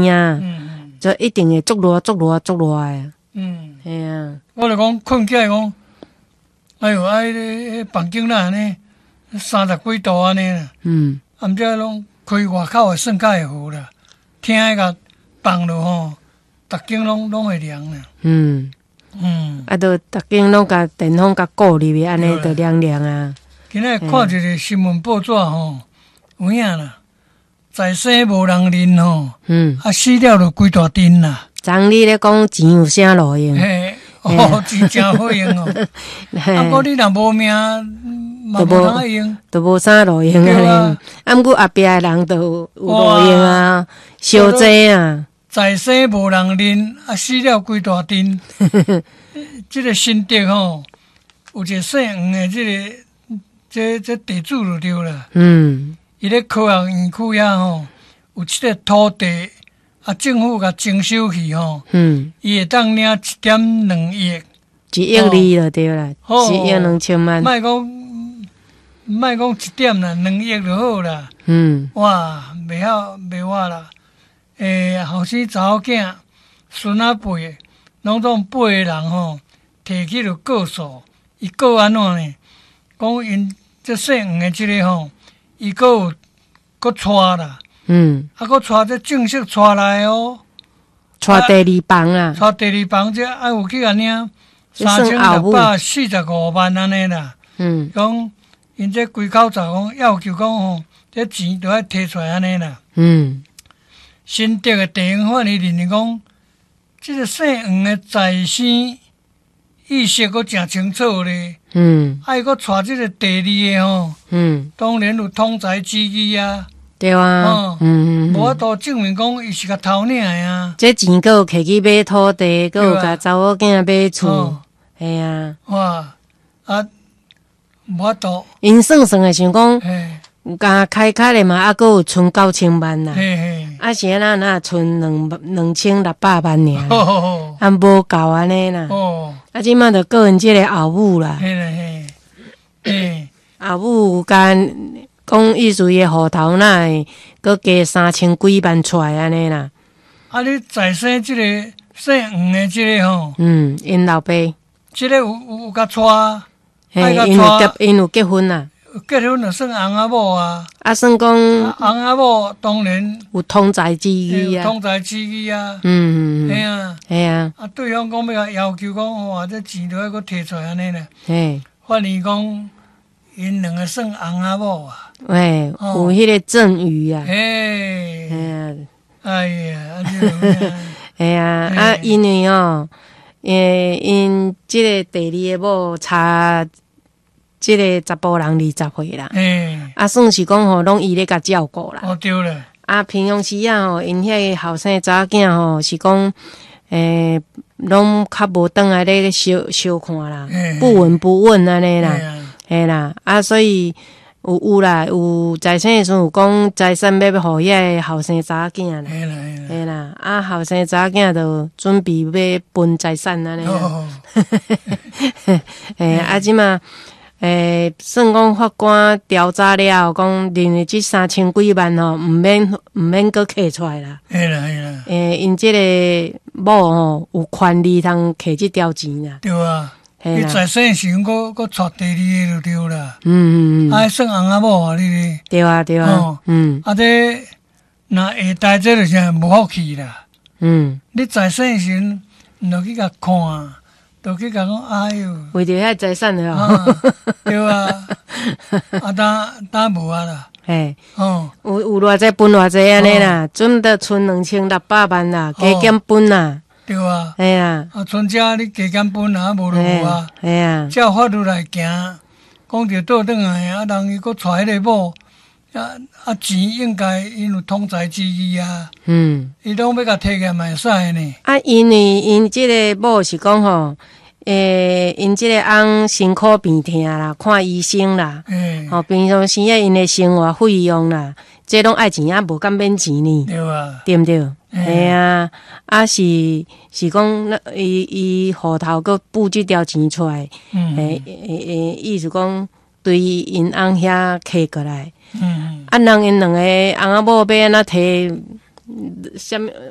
啊，就一定會足熱足熱足熱的。嘿啊。我就講困起來講，哎喲，啊，彼個房間哪按呢，30幾度按呢啦。啊，毋知攏開外口的算較會好啦，廳共放落吼，逐間攏會涼啦。啊，都逐間攏共電風共顧入去，按呢就涼涼啊。今仔看一個新聞報紙吼，有影啦，在生無人認吼，啊死了就規大陣啦。昨你咧講錢有啥路用？嘿，哦，錢誠好用哦。啊，毋過你若無命，嘛無通用，就無啥路用啊。啊，毋過後壁的人就有路用啊，燒濟啊。在生無人認，啊死了規大陣。這個新竹吼，有一個姓黃的，這個這地主就對啦。伊咧科學園區遐吼，有這個土地，啊，政府共徵收去吼。伊會當領1.2億。1.2億就對啦，1億2千萬。莫講，莫講一點啦，2億就好啦。哇，袂曉袂活啦。後生查某囝、孫仔輩，攏總八個人吼，提起就告訴，伊告按怎呢？講𪜶這姓黃的這個吼，伊閣有閣娶啦。啊，閣娶這正式娶來哦。娶第二房啊。娶第二房，這愛有去共領3645萬按呢啦。講𪜶這規口罩講要求講吼，這錢都愛提出來按呢啦。新竹的地方法院認為講，這個姓黃的在生意識閣誠清楚咧。啊，伊閣娶這個第二個吼。當然有通財之意啊。對啊。無法度證明講伊是共偷領的啊。這錢閣有摕去買土地，閣有共查某囝買厝。嘿啊。哇！啊，無法度。𪜶算算的想講，共開開的嘛，啊，閣有賰9000萬啦。啊是按怎若賰2600萬爾，啊無夠按呢啦。啊，這馬就告𪜶這個後母啦。後母共講意思伊的戶頭哪會閣加3000幾萬出來按呢啦。啊，你在生這個姓黃的這個吼？嗯，𪜶老爸。這個有共娶？嘿，𪜶有結婚啦。結婚就算翁仔某啊。啊，算講翁仔某當然有通財之意啊。通財之意啊。嘿啊。嘿啊。啊，對方講欲共要求講，哇，這錢都愛閣提出來按呢啦。法院講，𪜶兩個算翁仔某啊。喂，有彼個贈與啊。嘿。嘿啊。哎呀，啊這嘿啊，啊，因為哦，𪜶這個第二个某差這個查埔人20歲啦。啊，算是講吼，攏伊咧共照顧啦。哦，對咧。啊，平常時啊吼，𪜶遐个後生查某囝吼，是講，攏較無轉來咧相相看啦，不聞不問按呢啦，嘿啦，啊，所以有啦，有財產的時陣有講財產欲予遐个後生查某囝啦，嘿啦，啊，後生查某囝就準備欲分財產按呢啦。嘿，啊，這馬。算講法官調查了後，講認為這3000幾萬吼，毋免閣摕出來啦。嘿啦嘿啦。𪜶這個某吼有權利通摕這條錢啦。對啊，你在生時陣閣閣娶第二個就對啦。啊，算翁仔某啊，你。對啊對啊。啊，這若下代這就是無福氣啦。你在生時陣，毋著去共看。就去共講，哎喲，為著遐財產了。對啊，啊，當當無啊啦。嘿，哦，有偌濟分偌濟按呢啦，準得賰2600萬啦，加減分啦。對啊。嘿啊。啊，賰這你加減分啊，無就無啊。嘿啊。照法律來行，講著倒轉來啊，人伊閣娶彼個某，啊啊錢應該𪜶有通財之意啊。伊攏欲共提起來嘛會使呢。啊，因為𪜶這個某是講吼，𪜶這個翁辛苦病痛啦，看醫生啦，吼，平常時啊，𪜶的生活費用啦，這攏愛錢啊，無敢免錢呢。對啊。對毋對？嘿啊，啊是是講，伊伊戶頭閣補這條錢出來，意思講對𪜶翁遐摕過來。啊，人𪜶兩個翁仔某欲按怎提？啥物？